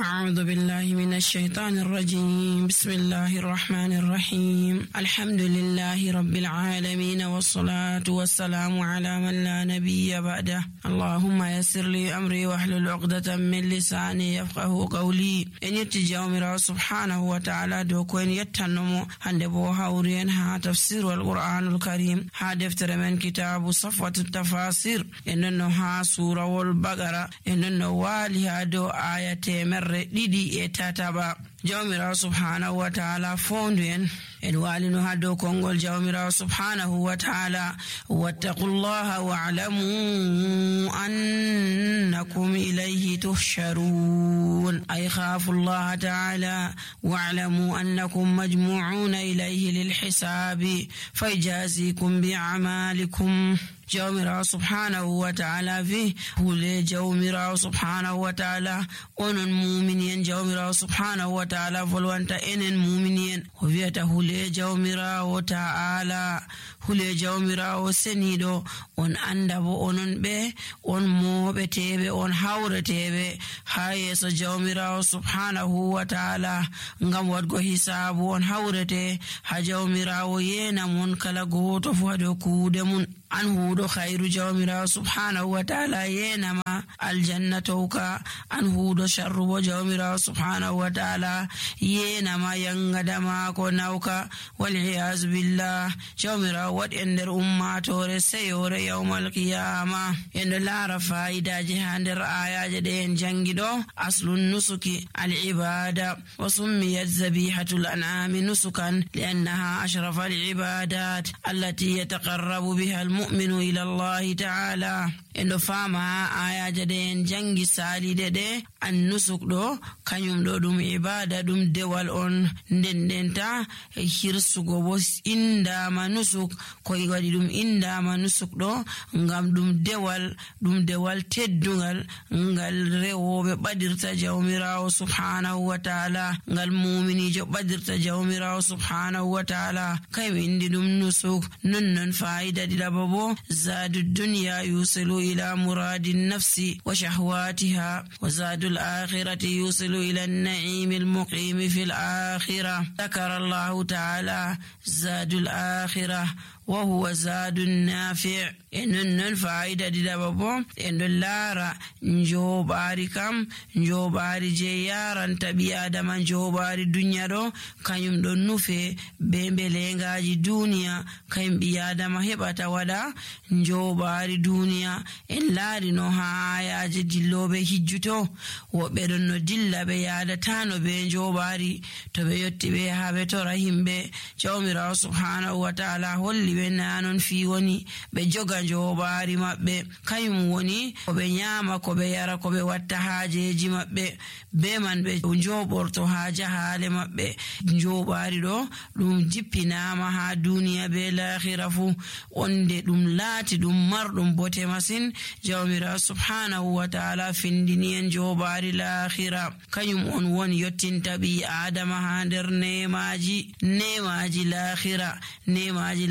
أعوذ بالله من الشيطان الرجيم. بسم الله الرحمن الرحيم. الحمد لله رب العالمين والصلاة والسلام على من لا نبي بعده. اللهم يسر لي أمري واحلل عقدة من لساني يفقه قولي. إن يتجاومر سبحانه وتعالى دوكوين يتنمو هندبو هاورين ها تفسير القرآن الكريم ها دفتر من كتاب صفوة التفاسير إنه ها سورة والبقرة إنه والها دو آية مرة ديدي إتاتابا. جاومر سبحانه وتعالى فوندين إن والنو هادو كونغول جاومر سبحانه وتعالى واتقوا الله واعلموا أنكم إليه تحشرون. أي خافوا الله تعالى واعلموا أنكم مجموعون إليه للحساب فيجازيكم بأعمالكم. جاومر سبحانه وتعالى فيه هو جاومر سبحانه وتعالى أن مؤمنين جاومر سبحانه وتعالى فلوانت إن مؤمنين وفيته هو جاومر وتعالى hule jawmirawo senido on anda bo onon be on moɓeteɓe on hawreteɓe ha yeso jawmirawo subhanahu wa ta'ala ngam wadgo hisabu on hawrete ha jawmirawo yena mon kala goto fu hado kuude mun an huudo khairu jawmirawo subhanahu wa ta'ala yena ma aljannatuka an huudo sharru bo jawmirawo subhanahu wa ta'ala yena ma yangadama ko nauka wal iyaz billah jawmirawo wat ender ummatore seyore yawmal qiyama. Endo lara faidaji ha nder ayaje de en jangido aslun nusuki al ibada wa summiyat zabihatul an'ami nusukan li'annaha ashraf al ibadat allati yataqarrabu biha al mu'minu ila Allah ta'ala. Endo fama ayaje de en jangi salide de an nusuk do kanyum do dum ibada dum dewal on ndendenta hirsugo bo inda manusuk ko wadi dum inda manusuk do ngam dum dewal teddungal ngal rewobe badirta jawmirawo subhanahu wa ta'ala ngal mu'minijo badirta jawmirawo subhanahu wa ta'ala kay indi dum nusuk non faida dilababo zadu dunya yusilu ila muradin nafsi wa shahwatiha wa zadu al-akhirati yusilu ila an-na'im al-muqim fi al-akhirah. Dhakara Allah ta'ala zadu al-akhirah وهو زاد نافع. إنن فائدة دبابو إن اللارا نجوباري كم نجوباري جيارا تبي آدم نجوباري دنيا رو كيم دون نوفي بمبلنغاجي دنيا كيم بيادم هبتا ودا نجوباري دنيا إن لاري نوها آياج دلو بهجتو وبدن ندل بيادا تانو بنجوباري تبيوتي بيها بتورهم بي جوميرا سبحانه وتعالى هولي benanon fi woni be joga jobari mabbe kayum woni ko be nyama ko be yara ko be watta haajeji mabbe be man be joborto haaja haale mabbe jobari do dum jippinama ha duniya be l'akhirah fu onde dum laati dum mardum bote masin jawmira subhanahu wa ta'ala findini en jobari l'akhirah kayum on woni yottinta bi adama ha der nemaji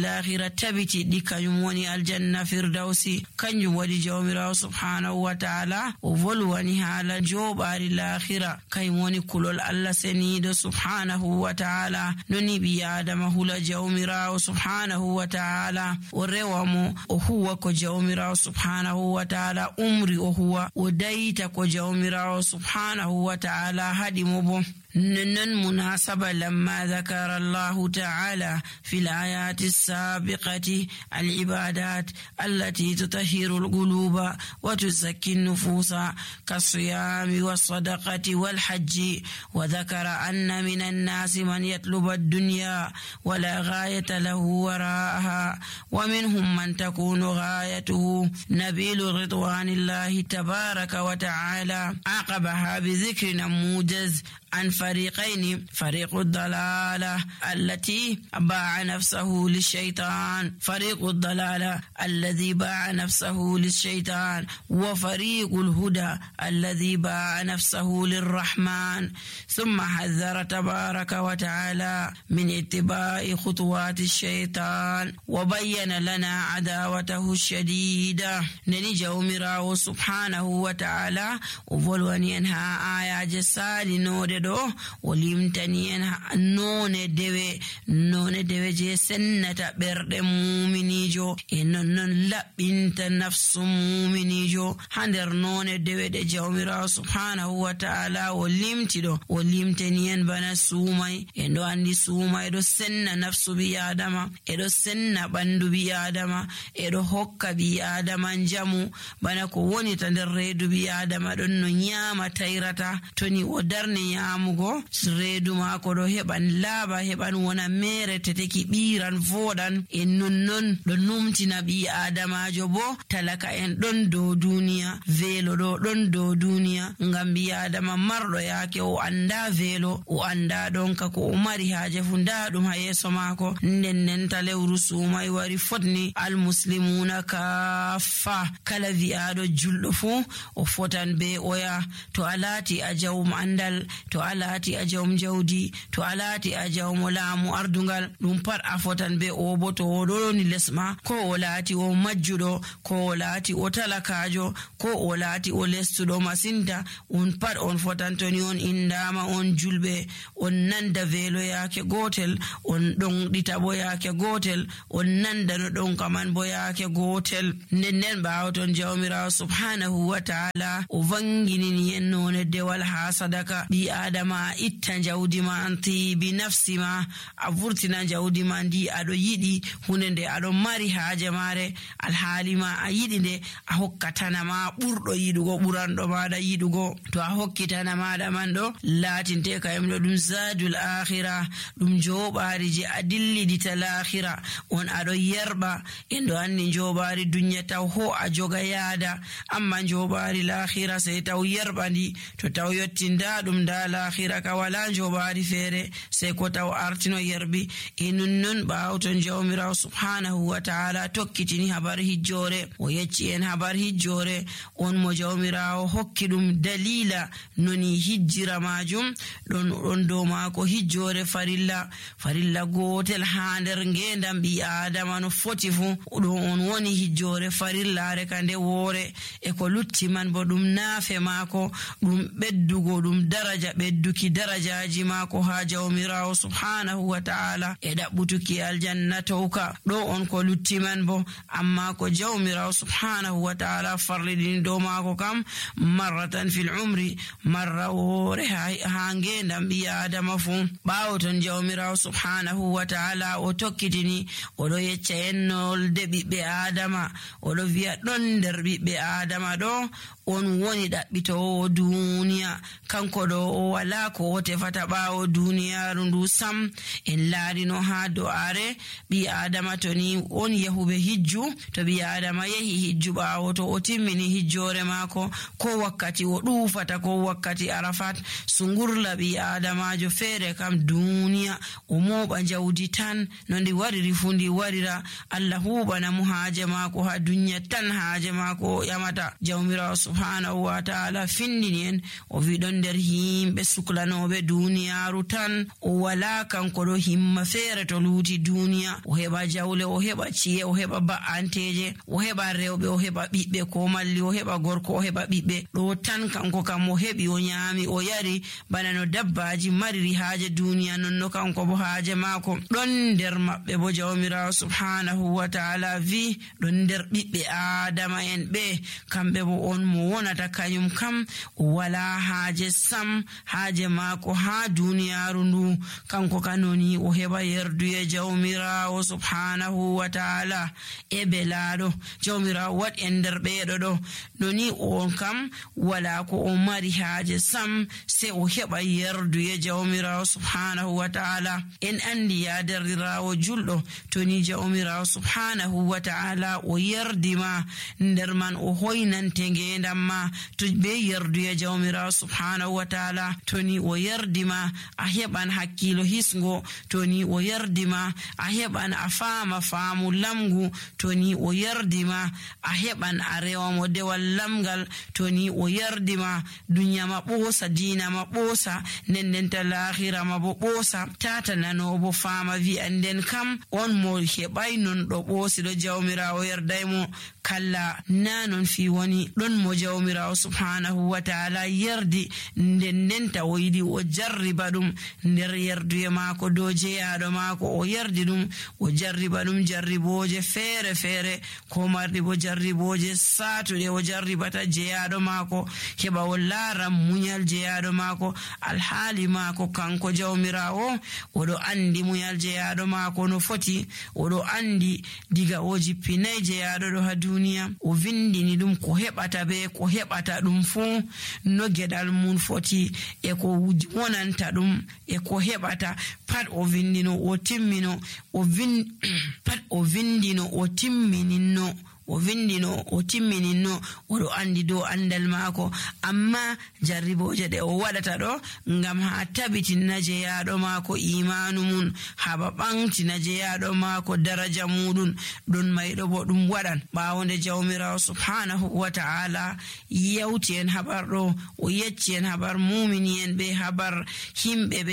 l'akhirah tabiti dikayum woni aljanna firdausi kanjum wadi jawmirawo subhanahu wa ta'ala o volwani hala jobari l'akhirah kayum woni kulol Allah senido subhanahu wa ta'ala noni bi adama hula jawmirawo subhanahu wa ta'ala o rewamo o huwa ko jawmirawo subhanahu wa ta'ala umri o huwa o dayita ko jawmirawo subhanahu wa ta'ala hadimo bo. نن مناسبة لما ذكر الله تعالى في الآيات السابقة العبادات التي تطهر القلوب وتزكي النفوس كالصيام والصدقة والحج وذكر أن من الناس من يطلب الدنيا ولا غاية له وراءها ومنهم من تكون غايته نبيل رضوان الله تبارك وتعالى عقبها بذكر موجز عن الفريقين فريق الضلالة التي باع نفسه للشيطان، فريق الضلالة الذي باع نفسه للشيطان، وفريق الهدى الذي باع نفسه للرحمن. ثم حذر تبارك وتعالى من اتباع خطوات الشيطان وبين لنا عداوته الشديدة. نني جومراو سبحانه وتعالى وفولوان ينها آية جسالي نوددو وليمتني ينها نون ديوي جي سنة برد مؤمنيجو إنن لبنت نفس مؤمنيجو هندر نون ديوي دي جومراو سبحانه وتعالى وليمتني ين بنا سومي إنو عندي سومي إدو سنة نفس بيادما إدو سنة بندو بيادما إدو هكا بيادما جمو bana ko woni ta nder reedu bi adama don no nyama tayrata toni o darne nyamugo reedu mako do heban laaba heban wona mere teteki biran vodan en nonnon do numtina bi adamajo bo talaka en don do duniya velo do don do duniya ngam bi adama mardo yake o anda velo o anda don ka ko o mari haaje funda dum ha yeso mako nennen talewru sumay wari fotni al muslimuna kaffa kala vi'ado juldo fu o fotan be oya to alati a jawm andal to alati a jawm jawdi to alati a jawm laamu ardungal dum pat a fotan be o bo to o do ni lesma ko o lati o majjudo ko o lati o talakajo ko o lati o lestudo masinta on pat on fotan to ni on indama on julbe on nanda velo yake gotel on don ditabo yake gotel on nanda no don kaman bo yake gotel nennen bawton jawmira subhanahu wa ta'ala o vangini yenno ne dewal ha sadaka bi adama itta jawdi ma anti bi nafsi ma avurtina jawdi ma ndi ado yidi hunde ado mari haaje mare alhaali ma a yidi de a hokkatana ma burdo yidugo burando maada yidugo to a hokkitana maada man do latinte kayemdo dum zadul akhirah dum jobaari je adilli dital akhirah on ado yerba endo anni jobaari dunya taw ho a joga yaada amma jobaari l'akhirah sai taw yerbandi to taw yottinda dum da l'akhirah ka wala jobaari fere sai ko taw artino yerbi inun baawton jawmira subhanahu wa ta'ala tokkitini habar hijjore o yecci en habar hijjore on mo jawmira hokkidum dalila noni hijjira majum don do mako hijjore farilla gotel ha nder ngendam bi adama no foti fu do on woni hijjore farillare kande wore e ko lutti man bo dum naafe mako dum beddugo dum daraja bedduki darajaji mako ha jawmira subhanahu wa ta'ala e dabbutuki aljanna tawka do on ko lutti man bo amma ko jawmira subhanahu wa ta'ala farlidin do mako kam marratan fil umri marra wore ha ngendam bi adama fu bawton jawmira subhanahu wa ta'ala o tokkitini o do yecca ennol de bibbe adama o do wi'a don der bibbe adama do on woni dabbito duniya kanko do o wala ko tefata bawo duniya rundu sam en laarino ha do are bi adama to ni on yahube hijju to bi adama yahi hijju bawo to o timmini hijjore mako ko wakkati o dufata ko wakkati arafat sungurla bi adama jo fere kam duniya o moba jawdi tan nondi wariri fundi warira Allah hubana mu haaje mako ha dunya tan haaje mako yamata jawmira subhanahu wa ta'ala findinien o vidon der himbe suklanobe duniyaru tan o wala kanko do himma fere to luti duniya o heba jawle o heba ciye o heba ba'anteje o heba rewbe o heba bibbe ko malli o heba gorko o heba bibbe do tan kanko kam o hebi o nyaami o yari bana no dabbaji mariri haaje duniya nonno kanko bo haaje mako don der mabbe bo jawmira subhanahu wa ta'ala vi don der bibbe adama en be kambe bo on mo wonata kanyum kam wala haaje sam haaje mako ha duniyaru ndu kanko kanoni o heba yerduye jawmira subhanahu wa ta'ala e belado jawmira wat en der beedo do noni on kam wala ko o mari haaje sam se o heba yerduye jawmira subhanahu wa ta'ala en andi ya derdirawo juldo toni jawmira subhanahu wa ta'ala o yerdima nder man o hoynante ngenda adam ma to be yerduya jawmirawo subhanahu wa ta'ala toni o yerdima a heɓan hakkilo hisgo, toni o yerdima a heɓan a faama faamu lamgu, toni o yerdima a heɓan a rewamo dewal lamgal, toni o yerdima duniya ma ɓoosa, diina ma ɓoosa, nendenta lahira ma bo ɓoosa. Tata nano bo faama wi'an nden kam on mo heɓay non ɗo ɓoosi ɗo jawmirawo yerdaymo. Kalla na non fi woni ɗon mo jawmirawo subhanahu wa ta'ala yerdi ndendenta o yiɗi o jarriba ɗum nder yerduye maako dow jeyaɗo maako, o yerdi ɗum o jarriba ɗum jarriboje feere feere, ko marɗi bo jarriboje satuɗe o jarribata jeyaɗo maako heɓa o laara munyal jeyaɗo maako. Alhaali maako kanko jawmirawo oɗo andi munyal jeyaɗo maako no foti, oɗo andi diga o jippinayi jeyaɗo ɗo ha duniya, o vindini ɗum ko heɓata be ko heɓata ɗum fuu, no geɗal mum foti e ko wonanta ɗum e ko heɓata pat o vindino o timmino pat o vindino o timmininno oɗo andi dow andal maako. Amma jarriboje ɗe o waɗata ɗo ngam ha tabitina jeyaɗo maako imanu mum, haba ɓantina jeyaɗo maako daraja muɗum, ɗon mayɗo bo ɗum waɗan ɓawonde jawmirawo subhanahu wa ta'ala yawti en habar ɗo, o yecci en habar mumini en be habar himɓe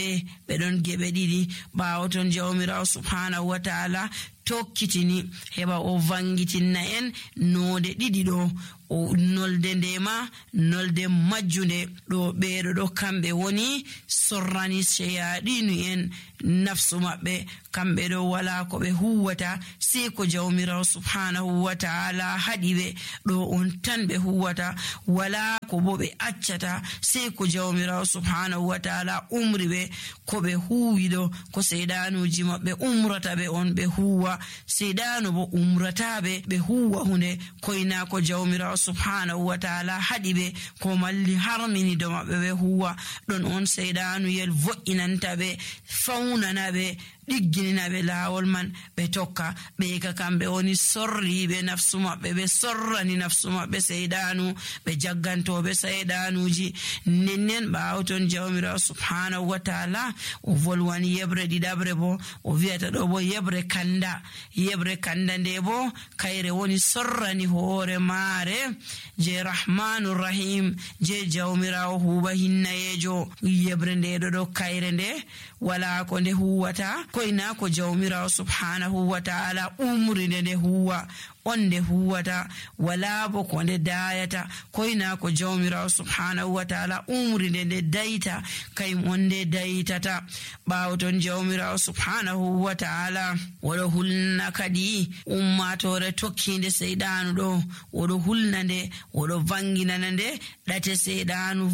ɓe ɗon geɓe ɗiɗi. ɓawo ton jawmirawo subhanahu wa ta'ala tokkitini heɓa o vangitinna en noode ɗiɗi ɗo, o nolde ndema nolde majjunde ɗo. ɓeeɗo ɗo kamɓe woni sorrani sheyaɗinu en nafsu maɓɓe, kamɓe ɗo wala ko ɓe huwata sei ko jawmirawo subhanahu wa ta'ala haɗi ɓe, ɗo on tan ɓe huwata, wala ko bo ɓe accata sei ko jawmirawo subhanahu wa ta'ala umri ɓe. ko ɓe huwi ɗo ko seydanuji maɓɓe umrata ɓe on ɓe huwa, seydanu bo umrataɓe ɓe huwa hunde koyna ko jawmirawo subhanahu wa ta'ala haɗi ɓe, ko malli harmini do maɓɓe ɓe huwa. ɗon on seydanuyel vo'inanta ɓe, faunana ɓe, ɗigginina ɓe laawol man ɓe tokka. ɓe ka kamɓe woni sorriɓe nafsu maɓɓe, ɓe sorrani nafsu maɓɓe seydanu, ɓe jaggantoɓe seydanuji. nennen ɓaawo ton jawmirawo subhanahu wa ta'ala o volwani yebre ɗiɗabre bo, o wiyata ɗo bo yebre kanda nde bo kayre woni sorrani hoore maare je rahmanu rahim, je jawmirawo huuba hinnayejo. yebre nde ɗo kayre nde wala ko nde huwata koyna ko jawmirawo subhanahu wa ta'ala umri nde huwa, on nde huwata, wala bo ko nde dayata koyna ko jawmirawo subhanahu wa ta'ala umri nde dayta, kayum on nde daytata. ɓawo ton jawmirawo subhanahu wa ta'ala oɗo hulna kadi ummatore tokkinde seydanu ɗo, oɗo hulna nde, oɗo vanginana nde ɗate seydanu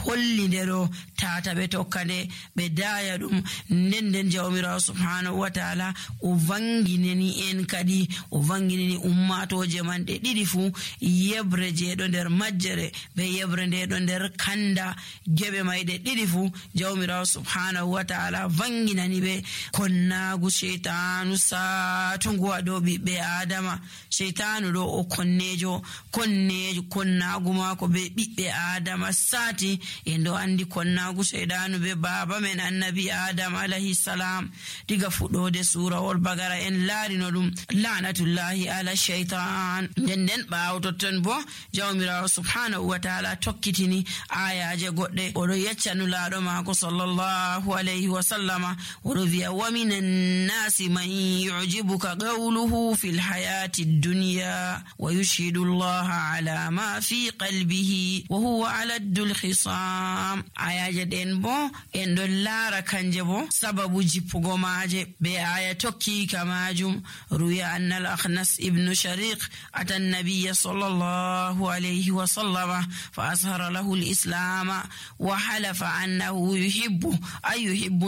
holli nde ɗo tata ɓe tokka nde ɓe daya ɗum. nden jawmirawo subhanahu wa ta'ala o vanginani en kadi, o vanginani ummatoje man ɗe ɗiɗi fu, yebre je ɗo nder majjere be yebre nde ɗo nder kanda, geɓe mayɗe ɗiɗi fu jawmirawo subhanahu wa ta'ala vanginani ɓe. konnagu sheytanu satungu ha dow ɓiɓɓe adama, sheytanu ɗo o konnagu mako be ɓiɓɓe adama sati en ɗo andi konnagu sheytanu be baba men annabi adam alayhi salam. diga fuɗɗode surawol bagara en laarino ɗum lanatullahi ala shaytan. nden ɓaawo totton bo jawmirawo subhanahu wa ta'ala tokkitini ayaje goɗɗe, oɗo yeccanu laaɗo maako sallallahu alayhi wa sallama, oɗo wiya wa minan nasi man yu'jibuka qawluhu fil hayati dunya wa yushhidu allaha ala ma fi qalbihi wa huwa aladdul khisam. ayaje ɗen bo en ɗon laara kanje bo sababu jippugo maaje be aya tokki kamajum. ruya anna al-akhnas ibn shariq ata an-nabiy sallallahu alayhi wa sallama fa ashara lahu al-islam wa halafa annahu yuhibbu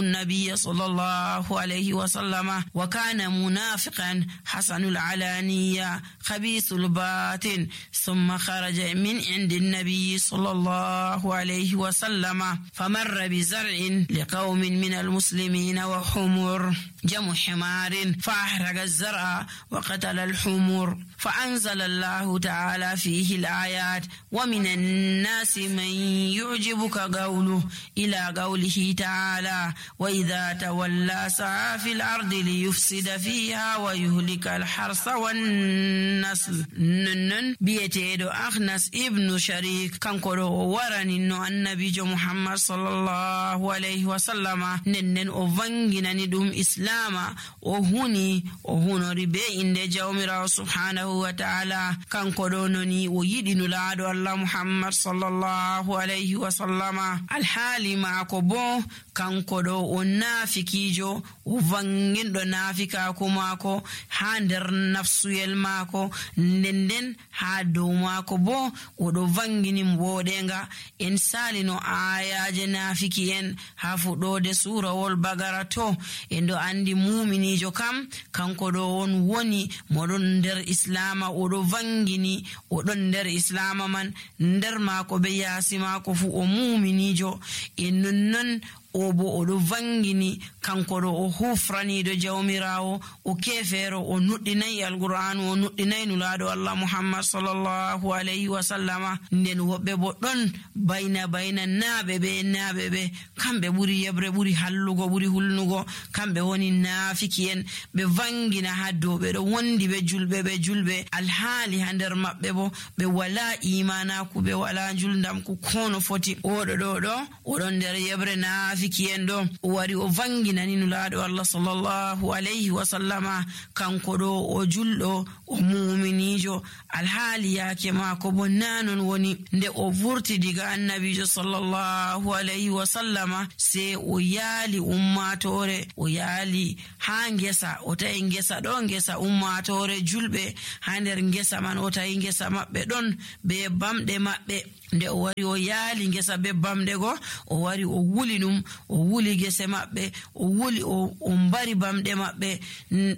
an-nabiy sallallahu alayhi wa sallama wa kana munafiqan hasanul alaniya khabithul batin thumma kharaja min indi an-nabiy sallallahu alayhi wa sallama famarra bi zar'in liqaumin min al-muslimin وحمر جمع حمار فأحرق الزرع وقتل الحمر فأنزل الله تعالى فيه الآيات ومن الناس من يعجبك قوله إلى قوله تعالى وإذا تولى سعى في الأرض ليفسد فيها ويهلك الحرث والنسل نن بيتيدو أخنس ابن شريك كان كدو ورني نو النبي محمد صلى الله عليه وسلم نن أفنجنا ندوم إسلاما وهنو ربي إن جومرا سبحانه وتعالى كان كدو نني ويدن لادو الله محمد صلى الله عليه وسلم الحالي معكو بو كان كدو ونافكيجو وفنجن دو نافكا كماكو هاندر نفسو يلماكو نندن هادو ماكو بو ودو فنجن مبودنغا إن سالينو آياج نافكيين هافو دو دي سورة والبقرة إن دو عندي مؤمنيجو كم كان كدو وني مدن در إسلاما ودو فنجني ودن در إسلاما من ندر ماكو بياسي ماكو فو مؤمنيجو إنن obo odo vangini kankodo o hufrani do jawmirawo o kefero o nuddinay alquran o nuddinay nulado Allah Muhammad sallallahu alaihi wasallama nden wobbe bo don bayna nabe be kambe buri yebre buri hallugo buri hulnugo kambe woni nafikiyen be vangina haddo be do wondi be julbe alhali hander mabbe bo be wala imana ku be wala juldam ku kono foti odo do odon der yebre kiyendo wari o vangina ni nulaado Allah sallallahu alaihi wasallama kanko do o juldo o mu'minijo alhali yake mako bonnanon woni nde o vurti diga annabijo sallallahu alaihi wasallama se o yali ummatore o yali hangesa o tay ngesa do ngesa ummatore julbe hander ngesa man o tay ngesa mabbe don be bamde mabbe nde o wari o yaali ngesa be bamde go o wari o wuli dum o wuli gese mabbe o wuli o mbari bamde mabbe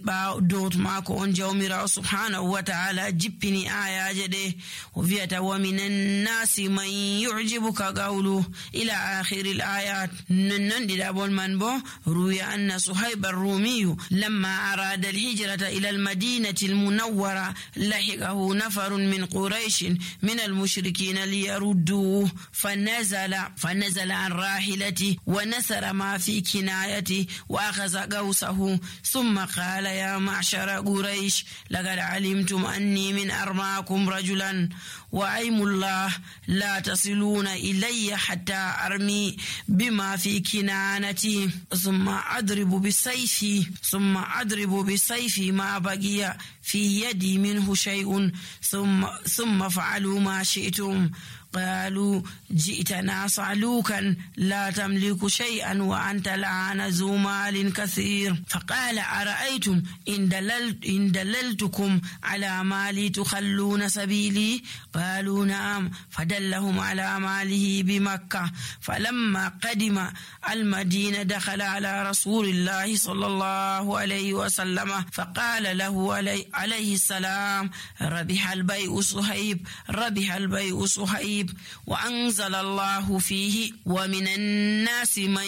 ba dot mako on jawmira subhanahu wa ta'ala jippini ayaje de o viata wa minan nasi man yu'jibuka qawlu ila akhir al-ayat nan dida bon man bo ruya anna suhayb ar-rumi lamma arada al-hijrata ila al-madinati al-munawwara lahiqahu nafarun min quraish min al-mushrikeen ليردوه فنزل عن راحلته ونسر ما في كنايته وأخذ قوسه ثم قال يا معشر قريش لقد علمتم أني من أرماكم رجلا وأيم الله لا تصلون إلي حتى أرمي بما في كنانتي ثم أضرب بسيفي ما بقي في يدي منه شيء ثم فعلوا ما شئتم قالوا جئتنا صعلوكا لا تملك شيئا وأنت لعن ذو مال كثير فقال أرأيتم إن دللتكم على مالي تخلون سبيلي قالوا نعم فدلهم على ماله بمكة فلما قدم المدينة دخل على رسول الله صلى الله عليه وسلم فقال له عليه السلام ربح البيع صهيب وأنزل الله فيه ومن الناس من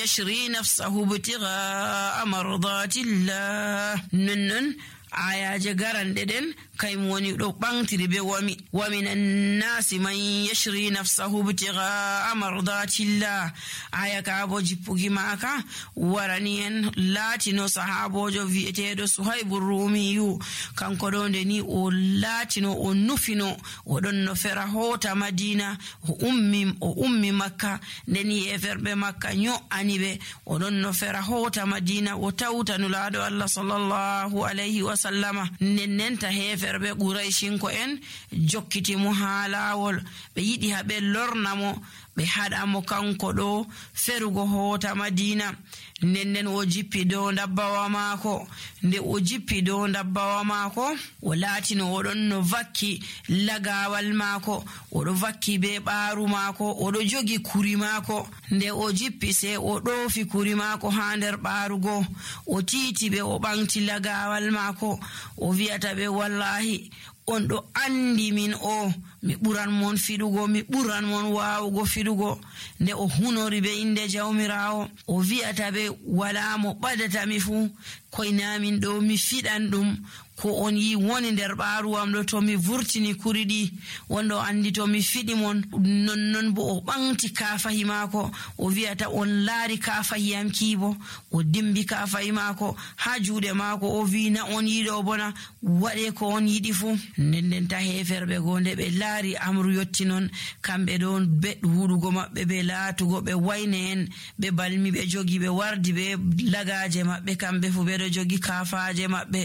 يشري نفسه ابتغاء مرضات الله ننن ayaje garande den kaymo woni do bangtiri be wa minan nasi man yashri nafsahu ibtigha mardatillah aya ka bo jippugi maka warani en latino sahabojo vietedo suhaibur rumiyu kanko do ndeni o latino o nufino o don no fera hota madina o ummi makka ndeni e ferbe makka nyo anibe o don no fera hota madina o tawta nulado Allah sallallahu alaihi wasallama nennenta heferbe quraishin ko en jokkiti mo halawol be yidi habe lornamo be hada mo kanko do ferugo hota madina nennen o jippi do dabbawa mako nde o jippi do dabbawa mako o latino o don no vakki lagawal mako o do vakki be baaru mako o do jogi kuri mako nde o jippi se o dofi kuri mako ha nder baarugo o titi be o bangti lagawal mako o viata be wallahi on do andi min o mi buran mon fidugo mi buran mon waawugo fidugo nde o hunori be inde jawmirawo o viata be wala mo badata mi fu koynamin ɗo mi fiɗan ɗum ko on yi woni nder ɓaaruwam ɗo to mi vurtini kuriɗi wonɗo andi to mi fiɗi mon nonnon bo o ɓanti kafahi maako o wi'ata on laari kafahiyam kiibo o dimbi kafahi maako ha juuɗe maako o wi na on yiɗo bona waɗe ko on yiɗi fuu. Nden ta heferɓe go nde ɓe laari amru yotti non kamɓe ɗon beɗ huɗugo maɓɓe ɓe laatugo ɓe wayne en ɓe balmi ɓe jogi ɓe wardi ɓe lagaje maɓɓe kamɓe fu ɓeɗo jogi kafaje maɓɓe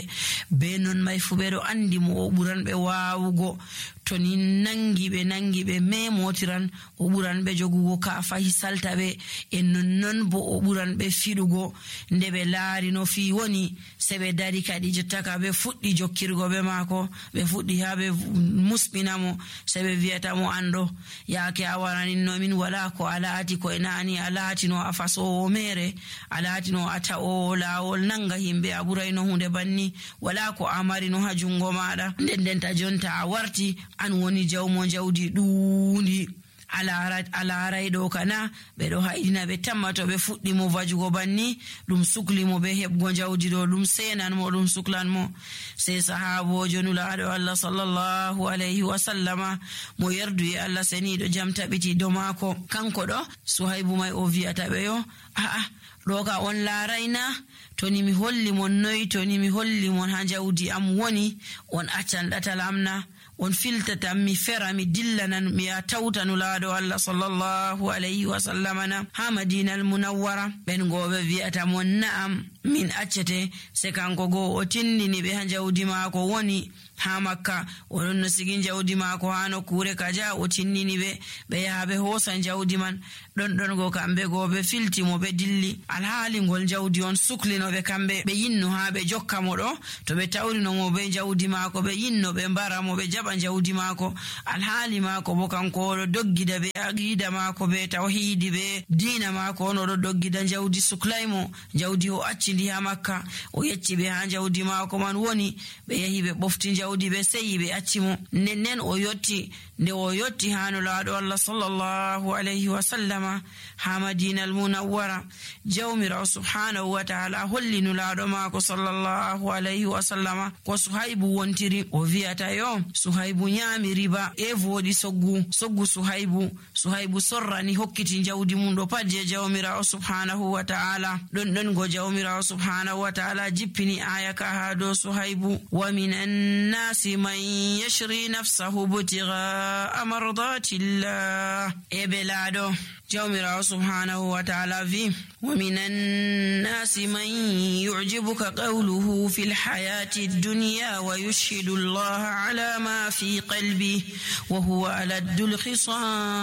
be non may fu ɓeɗo andi mo o ɓuran ɓe waawugo to ni nangi ɓe memotiran o ɓuran ɓe jogugo kafahi salta ɓe e nonnon bo o ɓuran ɓe fiɗugo. Nde ɓe laari no fi woni se ɓe dari kadi jottaka ɓe fuɗɗi jokkirgo ɓe maako ɓe fuɗɗi ha ɓe musɓinamo se ɓe wiyata mo anɗo yaake a waraninnomin wala ko a laati koye nani a laatino a fasowo mere a laatino a ta'owo laawol nanga himɓe a ɓurayno hunde banni wala ko a marino ha jungo maɗa ndendenta jonta a warti an woni jawmo jawdi ɗuundi a laaray ɗo kana ɓeɗo haydina ɓe tamma to ɓe fuɗɗi mo vajugo banni ɗum sukli mo ɓe heɓgo jawdi ɗo ɗum senan mo ɗum suklan mo. Sey sahabojo nulaɗo Allah sallallahu alayhi wa sallama mo yerdu e Allah seniɗo jam taɓiti do maako kanko ɗo Suhaybu may o wiyata ɓe yo ɗo ka on laarayna to ni mi holli mon noyi to ni mi holli mon ha jawdi am woni on accan ɗatal amna on filtata mi fera mi dillanan mi ya tawta nulaɗo Allah sallallahu alayhi wa sallama na ha Madina al-Munawwara ɓen goɓe wiyata mon na'am min accete se kanko go o tindini ɓe ha jawdi maako woni ha Makka oɗon no sigi jawdi maako ha nokkure kaja o tinnini ɓe yaha ɓe hoosa jawdi man ɗon go kamɓe go ɓe filtimo ɓe dilli alhaali ngol jawdi on suklinoɓe kamɓe ɓe yinno ha ɓe jokka mo ɗo to ɓe tawrinomo ɓe jawdi maako ɓe yinno ɓe mbaramo ɓe jaɓa jawdi maako alhaali maako bo kanko oɗo doggida ɓe aqida maako ɓe tawhidi ɓe diina maako on oɗo doggida jawdi suklaymo jawdi o accidi ha Makka o yecci ɓe ha jawdi maako man woni ɓe yahi ɓe ɓofti jawdi ɓe seyi ɓe accimo nden o yotti nde o yotti ha nulaɗo Allah sallallahu alayhi wa sallama ha Madina al-Munawwara jawmirawo subhanahu wa ta'ala holli nulaɗo maako sallallahu alayhi wa sallama ko Suhaybu wontiri o wiyata yo Suhaybu nyami riba e voɗi soggu Suhaybu sorrani hokkiti jawdi mum ɗo pat je jawmirawo subhanahu wa ta'ala ɗon go jawmirawo subhanahu wa ta'ala jippini aya ka ha do Suhaybu wa minan nasi man yashri nafsahu butigaa mardatillah e belaɗo jawmirawo subhanahu wa ta'ala vi wa minan nasi man yu'jibuka qawluhu fil hayati dunya wa yushhidu Allah ala ma fi qalbi wa huwa ala dul khisam